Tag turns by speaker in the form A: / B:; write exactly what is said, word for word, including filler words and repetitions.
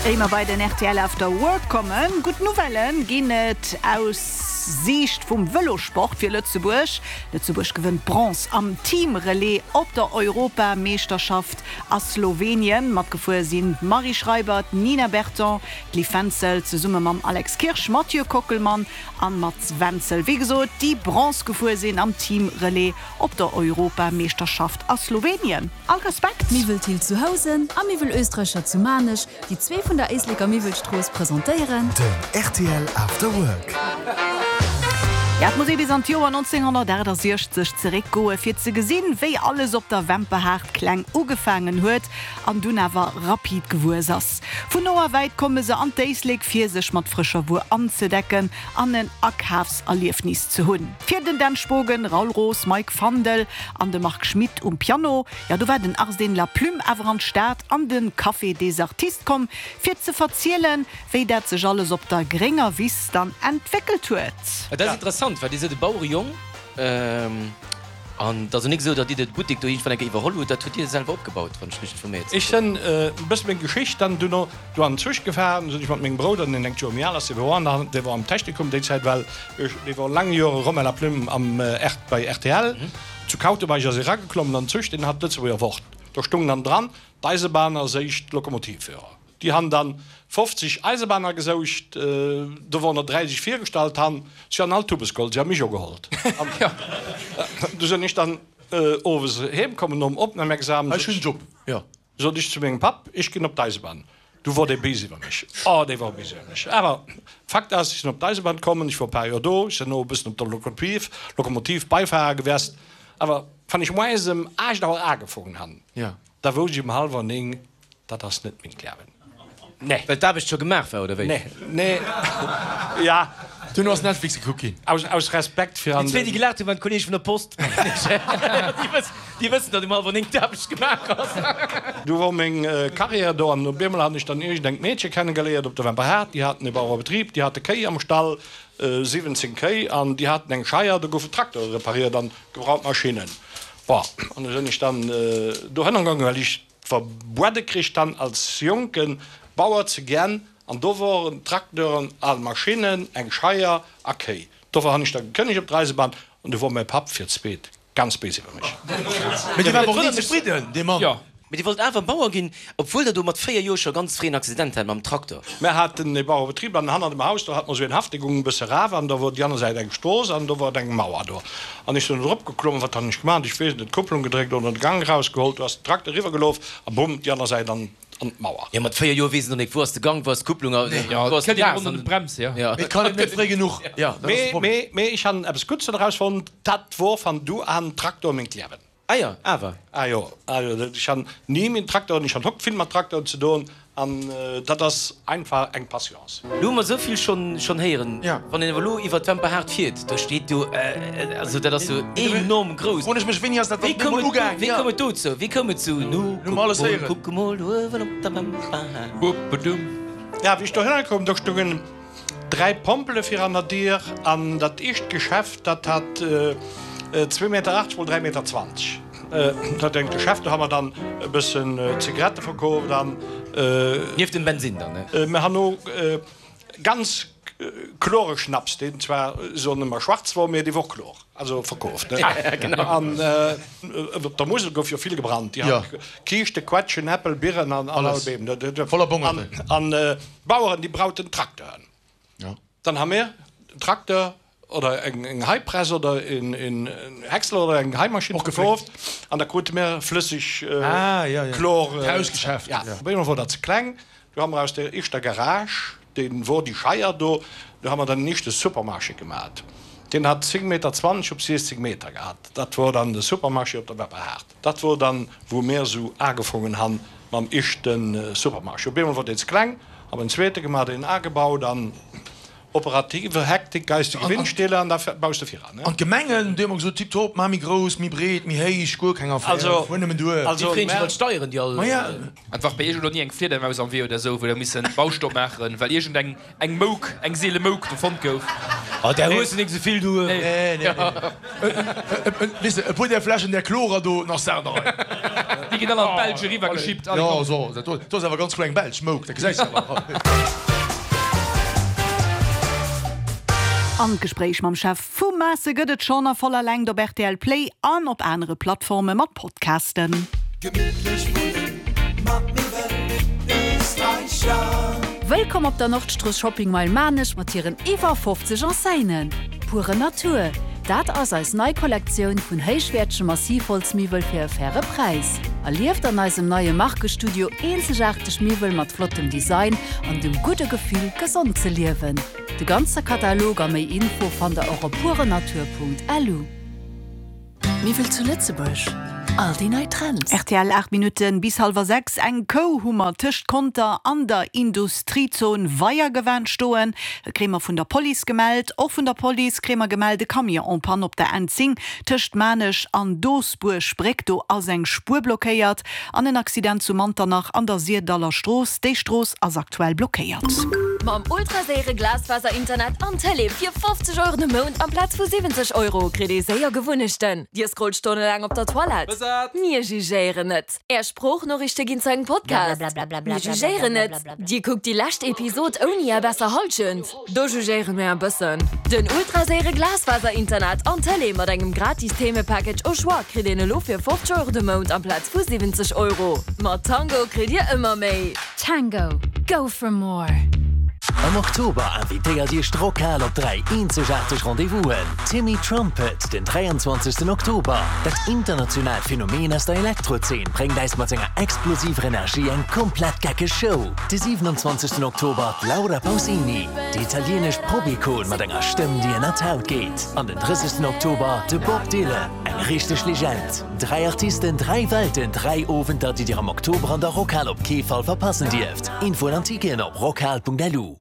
A: Éier mer bei den rtl After Work kommen, gutt Nouvellen ginn et aus Siicht vum Vëlosport fir Lëtzebuerg. Lëtzebuerg gewënnt Bronze am Team-Relais op der Europameeschterschaft a Slowenien. Matgefuer sinn d'Marie Schreiber, d'Nina Berton, d'Liv Wenzel zesumme mam Alex Kirsch, Mathieu Kockelmann an Mats Wenzel. Wéi gesot, déi Bronze gefuer sinn am Team-Relais op der Europameeschterschaft a Slowenien. All Respekt!
B: Miwwel Thill zu Housen a Miwwel Österreicher zu Maarnech, déi zwee vun der Éisleker Miwwelstrooss presentéieren.
C: Den rtl After Work.
A: Ja, et muss ee bis an d'Joer nonzénghonnertaachtasechzeg zeréckgoe fir ze gesinn, wéi alles op der Wemperhaart kleng ugefaangen huet an dunn awer rapid gewuess ass. Vun no a wäit komme se an d'Éislek fir sech mat frëscher Wuer anzedecken an en Akafserliefnis ze hunn. Fir den Dan Spogen, Raoul Roos, Mike Fandel an de Marc Schmidt um Piano, ja do war den Arsène Laplume awer an d'Stad an de Café des Artistes komm fir ze verzielen, wéi dat sech alles op der grénger Wiss dann entwéckelt huet.
D: Dat ass interessant, well Dir sidd e Bauerejong an et ass jo nik esou, datt Dir de Buttek do iergendwann eng Kéier iwwerholl hutt. Dat hutt Dir selwer opgebaut, wann ech richteg informéiert sinn.
E: Ech sinn e bësse meng Geschicht dann duerno do an den Zuch gefahren, sinn ech mat mengem Brouder, deen engt Joer méi al ass, dee wor an dee wor am Technikum déi Zäit, well ech, dee wor laang Jore Romain Laplume am R, bei rtl. Zu Kautebaich ass e rageklommen an den Zuch, deen hat d'Lëtzebuerger Wort. Do stung dann dran, D'Eisebahner séicht Lokomotivführer. Déi han dann fofzeg Eisebahner gesoucht, do wor der dräiseg virgestallt han, si han all Tubes geholl, si han mech o gehollt. An du sen ech dann owes heem kommen nom Opnahmexamen,
F: Ech hun en Job, jo.
E: Sot ech zu mengem Papp, ech gin op d'Eisebahn. Du wor dee béis iwwer mech. Oh, dee wor béis iwwer mech. Awer Fakt ass, ech sin op d'Eisebahn kommen, ech wor e paar Joer do, ech sen no e bëssen op der Lokomotiv, Lokomotiv Beifahrer gewest. Awer wann ech moies em aacht Auer agefongen han, da wousst ech um hallwer néng, Dat ass net meng Liewen.
D: Nee. Well d'Aarbecht scho gemaach war, oder wéi?
E: Nee, nee, ja.
F: Duerno ass Netflix gekuckt ginn.
E: Aus, aus Respekt fir an
D: Déi zwee, déi gelaacht hunn, waren d'Kolleege vun der Post. Déi wëssen, déi wëssen, datt um hallwer néng d'Aarbecht gemaach ass.
E: Du wor meng Carrière do an op eemol han ech dann iergendengt Meedche kennegeléiert op der Wemperhaart. Déi haten e Bauerebetrib, déi hate Kéi am Stall, siwwenzéng Kéi, an déi haten eng Scheier, do goufen Traktore repariert an gebraucht Maschinnen. Bon, an du sinn ech dann dohënner gaangen, well ech Verbuede kricht dann als jonke Bauer ze gen, an do woren Trakteuren, al Maschinnen, eng Scheier a Kéi. Dofir han ech da gekënnegt op der Eisebahn, an du wor mäi Papp fir d'zweet ganz béis iwwer mech.
F: Mee dee war awer och ni zefridden, dee Mann.
D: Jo, mee Dir wollt awer Bauer ginn, obwuel Der do mat véier Joer scho ganz fréi en Accident hat mam Traktor.
E: Mär haten e Bauerebetrib an hanner dem Haus, do hat mer esou en Haff, dee gung e bësse raf an da wor déi aner Säit eng Strooss an do wor et eng Mauer do. An ech sinn do drop geklommen, wat han ech gemaach, ech weess et net, d'Kupplung gedréckt oder de Gang erausgeholl, do ass den Trakter eriwwer gelof a bumm, déi aner Säit an an d'Mauer.
D: Jo, mat véier Joer weess een och nik, wou ass de Gang, wou ass d'Kupplung a wou ass de Gas.
F: Mee et kann een net fréi genuch, jo, dat ass de Problem.
E: Mee, mee ech han eppes Guddes doraus fonnt, dat wor van du an Traktor mengt Liewen.
D: Ah jo, awer.
E: Ah jo, ah jo, ech han ni min Traktoren, ech han hokt vill mat Traktoren ze doen an dat ass einfach eng Patience.
D: Lo hu mer esou vill schonn schonn héieren. Wann een awer elo iwwer d'Wemperhaart fiert, do steet jo, also dat ass jo enorm grouss.
F: Froen ech mech, wéini ass dat
D: Wéi
F: dann
D: koum
F: emol
D: et,
F: ugaang?
D: wéi koum et dozou? Wéi koum et zu Nu
F: Hu mer alles
D: kuck mol,
F: héieren.
D: kuck emol uewen op der Wemperhaart?
E: Ja, wéi ech dohinner koum, do stungen Dräi Pompele fir an der Dier an dat éischt Geschäft, dat hat zwee Meter achtzeg mol dräi Meter zwanzeg. Dat engt Geschäft, do ha mer dann e bëssen Zigarette verkooft an.
D: Nieft dem Bensinn dann, ne?
E: Mer han o ganz klore Schnaps, deen zwar soen ëmmer schwarz wor, mee dee wor klor, also verkooft, ne? An op der Musel gouf jo vill gebrannt, déi han Kiischte, Quetschen, Äppel, Birren an all Beem.
F: Voller Bongerten.
E: An d'Baueren, déi brauten Trakteuren. Dann ha mir en Trakteur oder eng Heipress oder en Häcksler oder eng Heimaschinn verkooft an da krute mir flësseg Chlor.
F: D'Hausgeschäft.
E: Op eemol wor dat ze kleng. Du ha mer aus der éischter Garage, déi wor déi Scheier do, do ha mer dann en éischte Supermarché gemat. Deen hat zéng Meter zwanzeg op siechzeg Meter gehat. Dat wor dann de Supermarché op der Wepperhaart. Dat wor dann, wou mir esou agefongen han mam éischte Supermarché. Op eemol wor deen ze kleng, ha mer en zweete gemat, een agebaut an operative Hektik, geistige Windstille an da baus de viran.
F: An d'Gemengen, déi hu mer gesot, tiptop, mar méi grouss, méi breet, méi héich, guer keng Affär, fuer nëmmen duer.
D: Déi freeën sech iwwer d'Steieren, déi all.
F: Maja.
G: An war bei iech elo ni eng Fliedermaus am Wee oder esou, wou der missen Baustopp maachen, well iergend eng eng Mouk, eng seele Mouk do fonnt gouf?
D: Oh, där hues de nik esou vill, du.
F: Nee, nee, nee. Weess de, e puer där Fläschen, där Chlorer do, nach Saach an der Rei.
G: Déi ginn all an d'Belsch eriwwer geschippt. Allez,
F: Jo,
G: komm.
F: so, dat do, do ass awer ganz kloer eng belsch Mouk, dat gesäis de awer.
A: An d'Gespréich mam Chef vu Maasse gëtt et schonn a voller Längt op rtl Play an op anere Plattforme mat Podcasten.
C: Gemittlech wunnen mat Miwwel Österreicher.
B: Wëllkomm op der Nordstrooss Shopping Mile Maarnech mat hiren iwwer fofzeg Enseignen. Pure Natur, dat ass eis nei Kollektioun vun héichwäertege Massivholzmiwwel fir e faire Präis. Erlieft an eisem neie Markestudio eenzegaarteg Miwwel mat flottem Design an dem gudde Gefill, gesond ze liewen. De ganze Katalog a méi Info fannt der och op purenatur.lu.
H: Miwwel zu Lëtzebuerg, all déi nei Trends.
A: Rtl, aacht Minutten bis hallwer sechs. Eng Kou hu mer tëscht Conter an der Industriezon Weiergewan stoen. Dat kréie mer vun der Police gemellt. Och vun der Police kréie mer gemellt, e Camion en panne op der N zéng tëscht Maarnech an Doosbuerg-Bréck. Do ass eng Spuer blockéiert. An en Accident zu Manternach an der Sierdaller Strooss. Déi Strooss ass aktuell blockéiert.
I: Mam ultraséiere Glasfaser-Internet an Tëlee fir fofzeg Euro de Mount amplaz vu siwwenzeg Euro kritt ee séier Gewunnechten. Dir scrollt stonnelaang op der Toilette? Mir jugéieren net. Är Sproochnoriichte ginn zu engem Podcast? Mir jugéieren net. Dir kuckt déi lescht Episod ouni är besser Hallschent? Do jugéiere mir e bëssen. Den ultraséiere Glasfaser-Internet an Tëlee mat engem gratis Themepackage au choix kritt een elo fir fofzeg Euro de Mount amplaz vu siwwenzeg Euro. Mat Tango kritt dir ëmmer méi.
B: Tango, go for more!
J: Am Oktober invitéiert Iech d'Rockhal op dräi eenzegaarteg Rendez-vousen, Timmy Trumpet den dräianzwanzegsten Oktober, Dat internationaalt Phänomen aus der Elektrozeen bréngt äis mat senger explosiver Energie eng komplett geckeg Show. De siwenanzwanzegsten Oktober d'Laura Pausini, déi italienesch Pop-Ikon mat enger Stëmm déi ënner d'Haut geet. An den drëssegsten Oktober de Bob Dylan, eng richteg Legend. Dräi Artisten, dräi Welten, dräi Owenter, déi Dir am Oktober an der Rockhal op kee Fall verpassen dierft. Infoen an Ticketen op rockhal.lu.